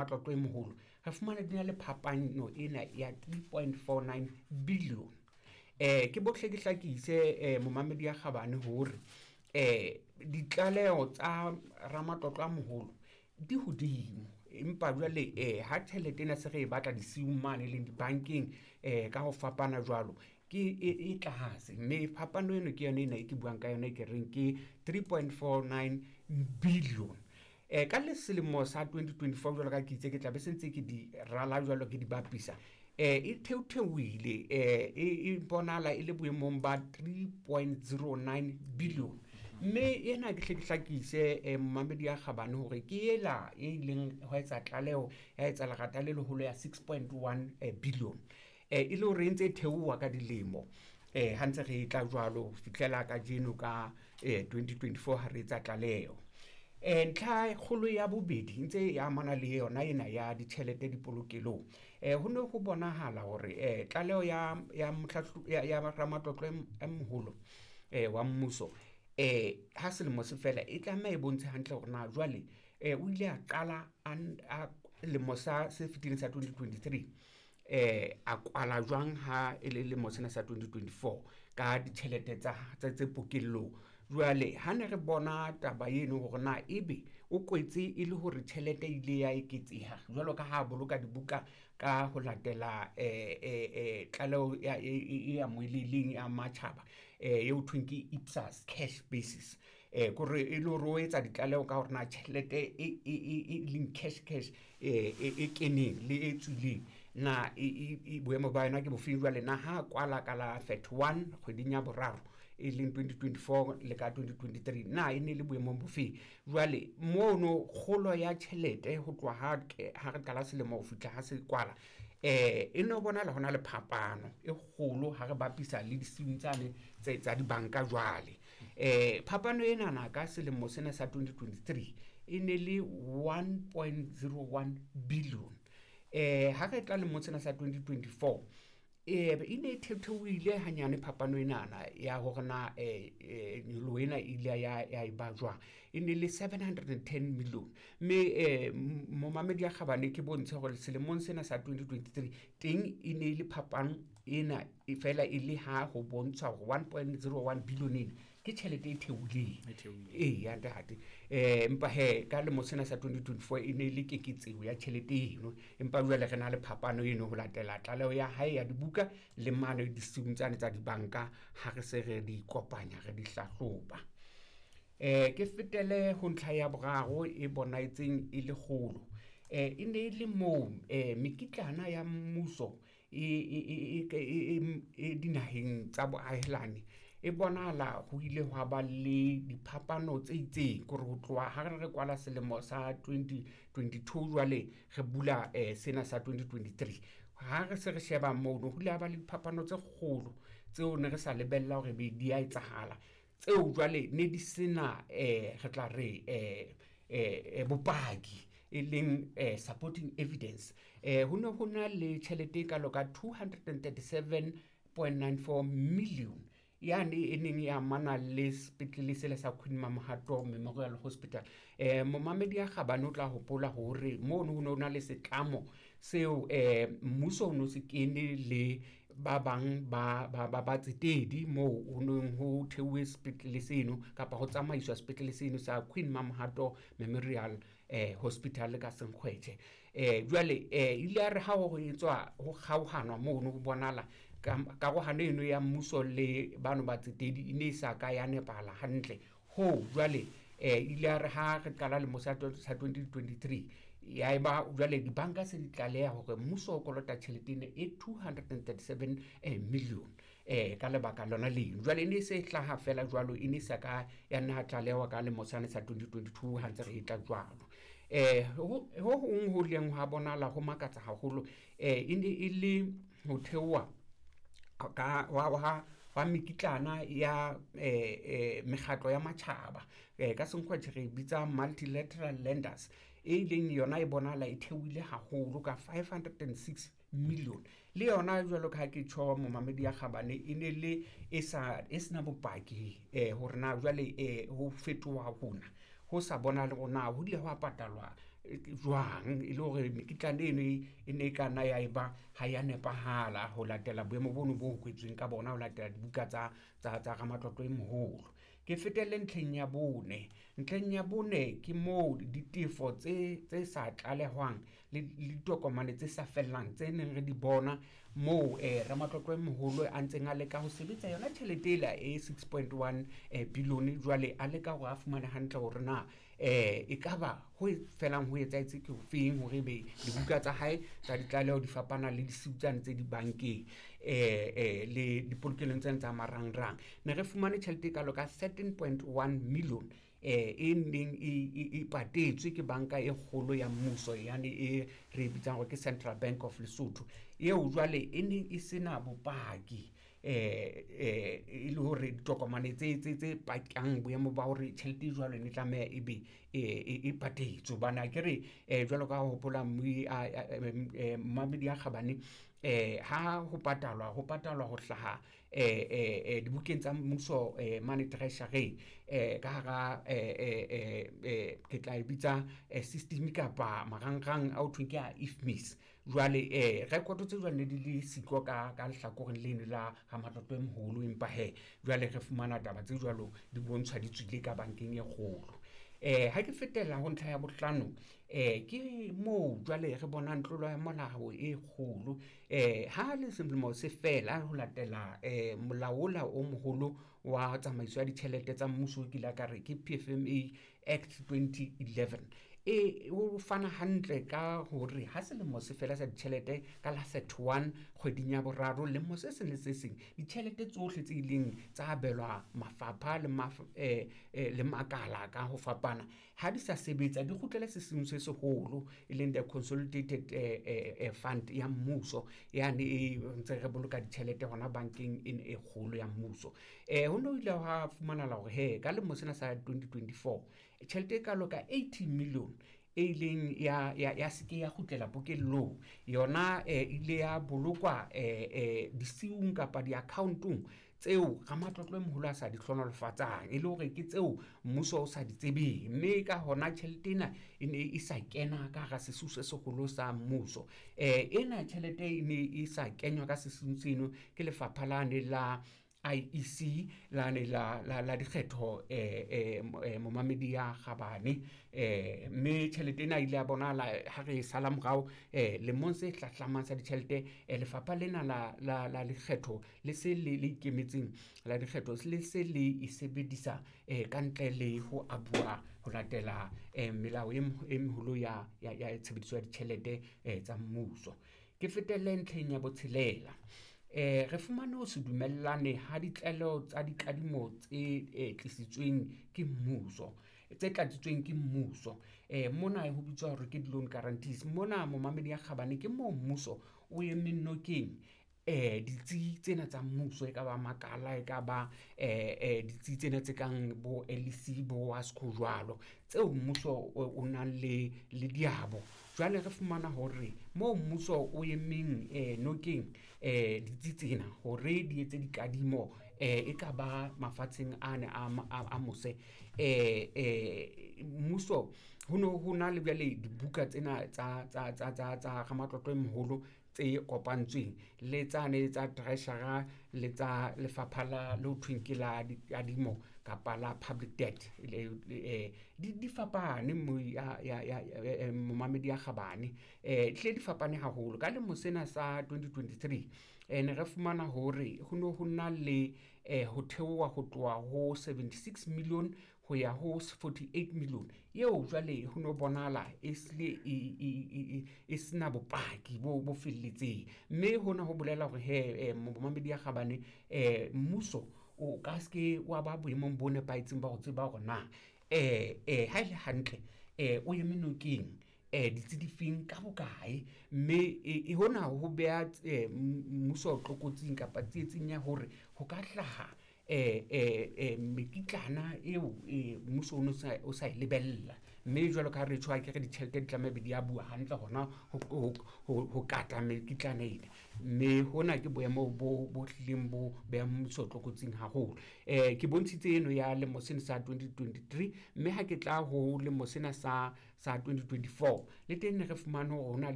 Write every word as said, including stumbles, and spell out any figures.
Matlotlo e moholo re fumana di na le phapano ena ya three point four nine billion. Eh ke bohle ke hlakise eh momamedi ya kgabane hore eh ditlaleho tsa ramatlotlo a moholo di hodimo, empa jwale eh ha tjhelete ena se re e batla disiung mane leng dibankeng eh ka ho fapana jwalo ke e tlase, mme phapano eno ke yona ena e ke buang ka yona e ke reng ke three point four nine billion. Eh ka le selemo sa twenty twenty four jwalo ka ha ke itse ke tla be se ntse ke di rala jwalo ke di bapisa eh e theotheohile eh e bonahala e le boemong ba three point zero nine billion. Mme ena ke hle ke hlakise eh momamedi ya kgabane hore ke ela e ileng ho etsa tlaleho ya etsa lerata le leholo ya six point one billion eh e le hore e ntse e theoha ka dilemo eh ha ntse re tla jwalo ho fihlela kajeno ka eh twenty twenty four ha re etsa tlaleho. Eh ntlha kgolo ya bobedi ntse e amana le yona ena ya ditjhelete dipolokelong. Eh ho ne ho bonahala hore eh tlaleho ya ya ya ya ramatlotlo e moholo eh wa mmuso eh ha selemo se fela e tlameha e bontshe hantle hore na jwale eh o ile a qala a lemo sa se fetileng sa twenty twenty three eh a kwala jwang ha e le lemo sena sa twenty twenty four ka ditjhelete tsa tse pokellong. Jwale ha ne re bona taba eno hore na ebe o kwetse e le hore tjhelete e ile ya eketseha jwalo ka ha boloka dibuka ka ho latela eh eh tlaleho ya e amohelehileng ya matjhaba eh eo thweng ke I P S A S cash basis eh kore e le hore o etsa ditlaleho ka hore na tjhelete e e leng cash cash eh e keneng le e tswileng na e boemo ba yona ke bofeng. Jwale na ha kwala ka la thirty one kgweding ya boraro e leng twenty twenty four le ka twenty twenty three na e ne le boemong bofeng. Jwale mono kgolo ya tjhelete ho tloha ha ha re qala selemo ho fihla ha se kwala eh e no bonahala hona le phapano e kgolo ha re bapisa le disiung tsane tse tsa dibanka. Jwale eh phapano ena na ka selemo sena sa twenty twenty three e ne le one point zero one billion. Eh ha re tla lemong sena sa twenty twenty four eh e ne e theohile hanyane phapano enana ya hore na eh nyoloho ena e ile ya ya e ba jwang, e ne le seven hundred and ten million. Mme eh momamedi ya kgabane ke bontshe hore selemong sena sa twenty twenty three teng e ne le phapano ena e fela e le ha ho bontsha hore one point zero one billion ena ke tjhelete e theohileng e ya ntate. Eh empa he ka lemo sena sa twenty twenty four e ne le keketseho ya tjhelete eno, empa jwale re na le phapano eno ho latela tlaleho ya hae ya dibuka le mane disiung tsane tsa dibanka ha re se re di kopanya re di hlahloba. Eh ke fetele ho ntlha ya boraro e bonahetseng e le kgolo. Eh e ne le moo eh mekitlana ya mmuso e e e e dinaheng tsa boahelani e bonahala ho ile hwa ba le diphapano tse itseng kore ho tloha ha re kwala selemo sa twenty twenty two jwale re bula eh sena sa twenty twenty three ha re se re sheba mono ho ile ha ba le diphapano tse kgolo tseo ne re sa lebella hore be di a etsahala tseo jwale ne di sena eh re tla re eh eh bopaki e leng eh supporting evidence. Eh ho ne ho na le tjhelete e kalo ka two hundred and thirty seven point nine four million yane e neng e amana le sepetlele sela sa Queen Mamohato Memorial Hospital. Eh momamedi ya kgabane o tla hopola hore mono ho no na le setlamo seo eh mmuso o no se kene le ba bang ba ba ba tsetedi moo ho neng ho theuwe sepetlele seno kapa ho tsamaiswa sepetlele seno sa Queen Mamohato Memorial eh Hospital ka Senkgwetjhe. Eh jwale eh ile ya re ha ho etswa ho kgaohanwa mono ho bonahala karohano eno ya mmuso le bano ba tsetedi e ne e sa ka ya nepahala hantle ho jwale eh ile ya re ha re qala lemo sa twenty twenty three ya eba jwale dibanka se di tlaleha hore mmuso o kolota tjhelete ena e two hundred and thirty seven million eh ka lebaka lona leno. Jwale e ne se hlaha fela jwalo e ne sa ka ya nna tlalewa ka lemo sane sa twenty twenty two ha ntse re e tla jwalo. Eh ho hong ho leng ha bonahala ho makatsa haholo eh e ne e le ho theoha ka wa wa wa mekitlana ya eh eh mekgatlo ya matjhaba eh ka Senkgwetjhe re bitsa multilateral lenders e leng yona e bonahala e theohile haholo ka five hundred and six million. Le yona jwalo ka ha ke tjho momamedi ya kgabane e ne le e sa e sena bopaki eh hore na jwale eh ho fetoha hona ho sa bona le hore na ho ile hwa patalwa jwang, e le hore mekitlane eno e ne e ka nna ya eba ha ya nepahala ho latela boemo bono bo kwetsweng ka bona ho latela dibuka tsa tsa tsa ramatlotlo e moholo. Ke fetelle ntlheng ya bone. Ntlheng ya bone ke moo ditefo tse tse sa tlalehwang le ditokomane tse sa fellang tse neng re di bona moo eh ramatlotlo e moholo a ntseng a leka ho sebetsa yona tjhelete ela e six point one billion, jwale a leka hore a fumane hantle hore na eh ekaba ho felang ho etsahetse ke hofeng hore ebe dibuka tsa hae tsa ditlaleho di fapana le disiu tsane tse dibankeng eh eh le dipolokelong tsena tsa marangrang. Ne re fumane tjhelete e kalo ka thirteen point one million eh e neng e patetswe ke banka e kgolo ya mmuso, yane e re bitsang hore ke Central Bank of Lesotho, eo jwale e neng e sena bopaki eh eh e le hore ditokomane tse tse tse pakang boemo ba hore tjhelete e jwalo ne tlameha ebe e patetswe. Hobane akere jwalo ka ha hopola momamedi ya kgabane, eh ha ho patalwa ho patalwa ho hlaha eh eh dibukeng tsa mmuso mane treasury eh ka hara eh ke tla e bitsa system kapa marangrang a ho thweng ke a I F M I S. Jwale eh record tse jwalo ne di le siko ka ka lehlakoreng leno la ramatlotlo e moholo, empa hee jwale re fumana taba tse jwalo di bontshwa di tswile ka bankeng e kgolo. Eh ha ke fetela ho ntlha ya bohlano, eh ke moo jwale re bonang tlolo ya molao e kgolo. Eh ha le selemo se fela ho latela eh molao ona o moholo wa tsamaiso ya ditjhelete tsa mmuso, ke ile ka re ke P F M A Act twenty eleven, e o fana hantle ka hore ha selemo se fela sa ditjhelete ka la thirty-one kgweding ya boraro lemo se seng le se seng, ditjhelete tsohle tse ileng tsa abelwa mafapha le eh le makala ka ho fapana ha di sa sebetsa di kgutlele sesiung se seholo, e leng the consolidated eh fund ya mmuso yane e ntse re boloka ditjhelete hona bankeng e kgolo ya mmuso. Eh ho no ile ha fumanahala hore he ka lemo sena sa twenty twenty-four tjhelete e kalo ka eighty million e ileng ya ya ya seke ya kgutlela pokellong yona, e ile ya bolokwa eh eh disiung kapa di-account-ong tseo ramatlotlo e moholo a sa di hlohonolofatsang, e le hore ke tseo mmuso o sa di tsebeng, mme ka hona tjhelete ena e ne e sa kena ka hara sesiu se seholo sa mmuso. Eh ena tjhelete e ne e sa kenywa ka sesiung seno ke lefapha lane la I E C lane la la la dikgetho eh eh momamedi ya kgabane, eh mme tjhelete ena ile ya bonahala ha re sala morao eh lemong se hlahlamang sa ditjhelete. Lefapha lena la la la lekgetho le se le le ikemetseng la dikgetho le se le e sebedisa eh ka ntle le ho abuwa ho latela eh melao e meholo ya ya ya tshebediso ya ditjhelete tsa mmuso. Ke fetelle ntlheng ya botshelela. Eh re fumane ho se dumellane ha ditlaleho tsa dikadimo tse tlisitsweng ke mmuso, tse tlatsitsweng ke mmuso. Eh mona ho bitswa hore ke di-loan guarantees. Mona momamedi ya kgabane ke moo mmuso o emeng nokeng eh ditsi tsena tsa mmuso, e ka ba makala, e ka ba eh eh ditsi tsena tse kang bo L E C bo WASCO jwalo, tseo mmuso o nang le le diabo. Jwale re fumana hore moo mmuso o emeng eh nokeng eh ditsi tsena hore di etse dikadimo eh e ka ba mafatsheng ane a a mose, eh eh mmuso ho no ho na le jwale dibuka tsena tsa tsa tsa tsa tsa ramatlotlo e moholo tse kopantsweng le tsane tsa treasurer le tsa lefapha la le ho thweng ke la dikadimo kapa la public debt, le di di fapane mo ya ya ya momamedi ya kgabane, eh hle di fapane haholo. Ka lemo sena sa twenty twenty-three eh ne re fumana hore ho no ho na le eh ho theoha ho tloha ho seventy-six million ho ya ho forty-eight million, eo jwale ho no bonahala e sile e e sena bopaki bo bo felletseng, mme hona ho bolela hore he momamedi ya kgabane eh mmuso o ka se wa ba boemong bo nepahetseng ba ho tseba hore na eh eh ha ele hantle eh o eme nokeng eh ditsi difeng ka bokae, mme e hona ho beha mmuso tlokotsing kapa tsietsing ya hore ho ka hlaha eh eh mekitlana eo mmuso o no sa o sa e lebella, Mme jwalo ka ha re tjho akere ditjhelete di tlameha be di a bua hantle hona ho kata mekitlane ena. Mme hona ke boemo bo bo hlileng bo behang mmuso tlokotsing haholo. Ke bontshitse eno ya lemo sena sa twenty twenty-three, mme ha ke tla ho lemo sena sa sa twenty twenty-four le teng ne re fumane hore hona le